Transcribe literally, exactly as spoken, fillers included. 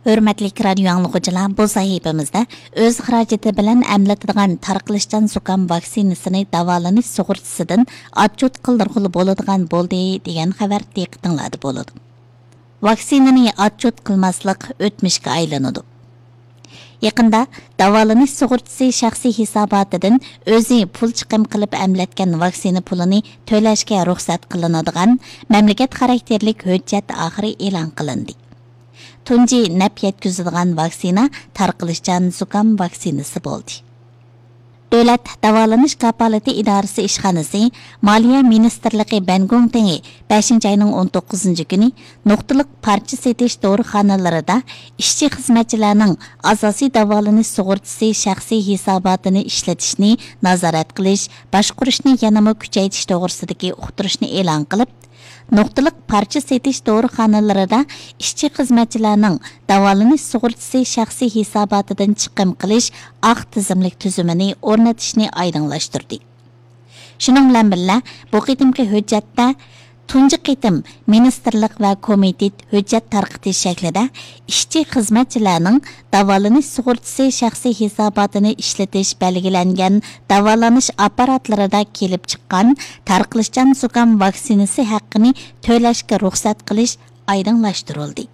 ھۆرمەتلىك رادىيو ئاڭلىغۇچىلار، بۇ سەھىپىمىزدە ئۆز خىراجىتى بىلەن ئەملىتىدىغان تارقىلىشچان زۇكام ۋاكسىنىسىنى داۋالىنىش سۇغۇرتىسىدىن ئاتچوت قىلدۇرغىلى بولىدىغان بولدى دېگەن خەۋەر دىققىتىڭلاردا بولىدۇ. ۋاكسىنىنى ئاتچوت قىلماسلىق ئۆتمۈشكە ئايلىنىدۇ. يېقىندا داۋالىنىش سۇغۇرتىسى شەخسىي ھېساباتىدىن ئۆزى پۇل چىقىم قىلىپ ئەملەتكەن ۋاكسىنا پۇلىنى تۆلەشكە رۇخسەت قىلىنىدىغان مەملىكەت خاراكتېرلىك ھۆججەت ئاخىرى ئېلان قىلىندى. تۇنجى نەپ يەتكۈزىدىغان ۋاكسىنا تارقىلىشچان زۇكام ۋاكسىنىسى بولدى. دۆلەت داۋالىنىش كاپالىتى ئىدارىسى ئىشخانىسى مالىيە مىنىستىرلىقى بەنگوڭتېڭى بەشىنچى ئاينىڭ ئون توققۇزىنچى كۈنى نۇقتىلىق پارچە سېتىش دورىخانىلىرىدا ئىشچى خىزمەتچىلەرنىڭ ئاساسىي داۋالىنىش سۇغۇرتىسى شەخسىي ھېساباتىنى ئىشلىتىشنى نازارەت قىلىش، باشقۇرۇشنى يەنىمۇ كۈچەيتىش توغرىسىدىكى ئۇقتۇرۇشنى ئېلان قىلىپ، نۇقتىلىق پارچە سېتىش دورىخانىلىرىدا ئىشچى خىزمەتچىلەرنىڭ داۋالىنىش سۇغۇرتىسى شەخسىي ھېساباتىدىن چىقىم قىلىش ئاق تىزىملىك تۈزۈمىنى ئورنىتىشنى ئايدىڭلاشتۇردى. شۇنىڭ بىلەن بىللە، بۇ قېتىمقى ھۆججەتتە تۇنجى قېتىم مىنىستىرلىق ۋە كومىتېت ھۆججەت تارقىتىش شەكلىدە ئىشچى خىزمەتچىلەرنىڭ داۋالىنىش سۇغۇرتىسى شەخسىي ھېساباتىنى ئىشلىتىش بەلگىلەنگەن داۋالىنىش ئاپپاراتلىرىدا كېلىپ چىققان تارقىلىشچان زۇكام ۋاكسىنىسى ھەققىنى تۆلەشكە رۇخسەت قىلىش ئايدىڭلاشتۇرۇلدى.